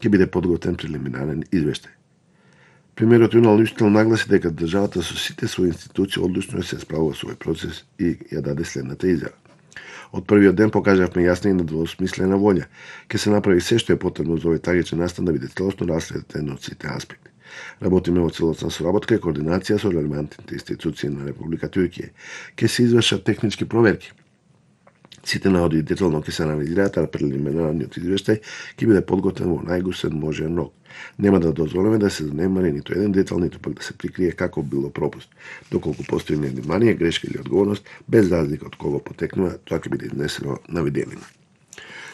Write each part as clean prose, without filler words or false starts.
ќе биде подготвен прелиминарен извештај. Премиерот Јунал Уштел нагласи дека државата со сите своји институции одлучно се справува со овој процес и ја даде следната изјава. Од првиот ден покажавме јасна и недвосмислена волја. Ќе се направи се што е потребно за овој трагичен настан да биде целосно расследен од сите аспекти. Работиме во целосна соработка и координација со релевантните институции на Република Туркија. Ќе се извршат технички проверки. Сите наводи детално ќе се анализираат, а прелиминарниот извештај ќе биде подготвен во најгусен можен рок. Нема да дозволиме да се занемари ниту еден детал, ниту пак да се прикрие како било пропуст. Доколку постои невнимание, грешка или одговорност, без разлика од кого потекнува, тоа ќе биде изнесено на виделина.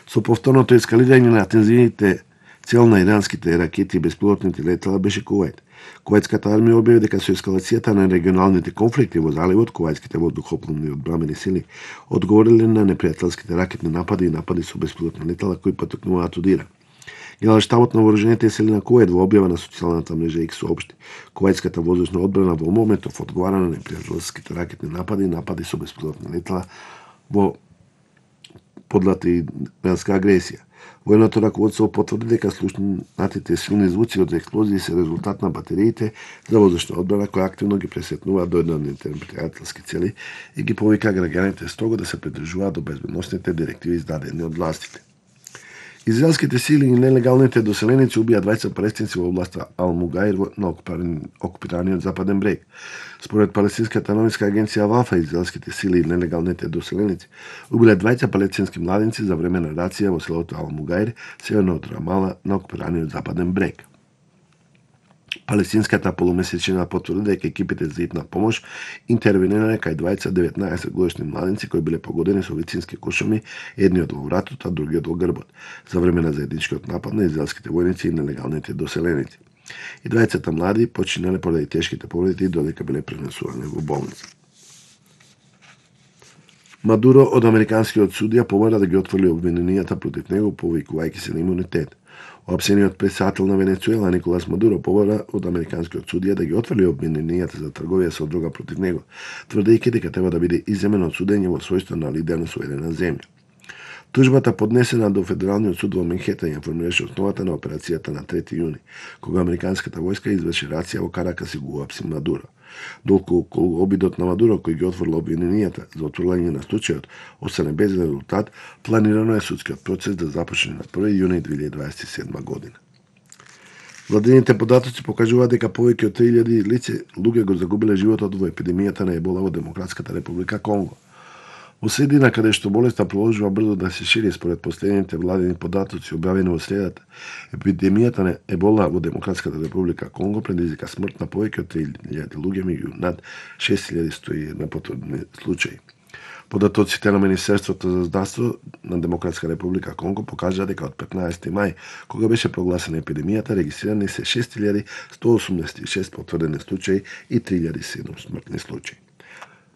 Со повторното ескалирање на тензиите, цел на иранските ракети и беспилотните летала беше Кувајт. Кувајтската армија објави дека со ескалацијата на регионалните конфликти во заливот, кувајтските воздухопловни одбранени сили одговориле на непријателските ракетни напади и напади со беспилотни летала кои потекнуваат од Иран. Генералштабот на вооружените сили на Кувајт во објава на социјалната мрежа X соопшти: Кувајтската воздушна одбрана во моментов одговара на непријателските ракетни напади и напади со беспилотни летала во подлата иранска агресија. Военото раководство потврди дека слушнатите силни звуци од експлозии се резултат на батериите за воздушна одбрана кои активно ги пресетнуваат до еднодневните непријателски цели и ги повика граѓаните строго да се придржуваат до безбедносните директиви издадени од властите. Израелските сили и нелегалните доселеници убија 20 палестинци во областа Ал-Мугаир на окупираниот западен брег. Според палестинската новинска агенција Вафа, израелските сили и нелегалните доселеници убиле 20 палестински младенци за време на рација во селото Ал-Мугаир, северно од Рамала, на окупираниот западен брег. Палестинската полумесечина потврди дека екипите за итна помош интервенирале кај 19 годишни младенци кои биле погодени со вицински кошуми, едниот во вратот, а другиот во грбот, за време на заедничкиот напад на израелските војници и нелегалните доселеници. И 20 млади починале поради тешките повреди додека биле пренесувани во болница. Мадуро од американскиот судија помора да ги отфрли обвиненијата против него, повикувајќи се на имунитет. Опсениот председател на Венецуела Николас Мадуро побара од американскиот судија да ги отфрли обвиненијата за трговија со дрога против него, тврдејќи дека треба да биде иземен од судење во својство на лидер на суверена земја. Тужбата поднесена до Федералниот суд во Менхетен ја формираше основата на операцијата на 3 јуни, кога американската војска изврши рација во Каракас и го уапси Мадуро. Доколку обидот на Мадуро кој ги отфрла обвиненијата за отфрлање на случајот остане без резултат, планирано е судскиот процес да започне на 1 јуни 2027 година. Владините податоци покажуваат дека повеќе од 3000 лице луѓе го загубиле животот во епидемијата на ебола во Демократската република Конго. Во средина каде што болеста продолжува брзо да се шири според последните владини податоци објавени во средата, епидемијата на ебола во Демократската република Конго предизвика смрт на повеќе од 3000 луѓе, меѓу над 6100 потврдени случаи. Податоците на Министерството за здравство на Демократска република Конго покажа дека од 15 мај, кога беше прогласена епидемијата, регистрирани се 6186 потврдени случаи и 3007 смртни случаи.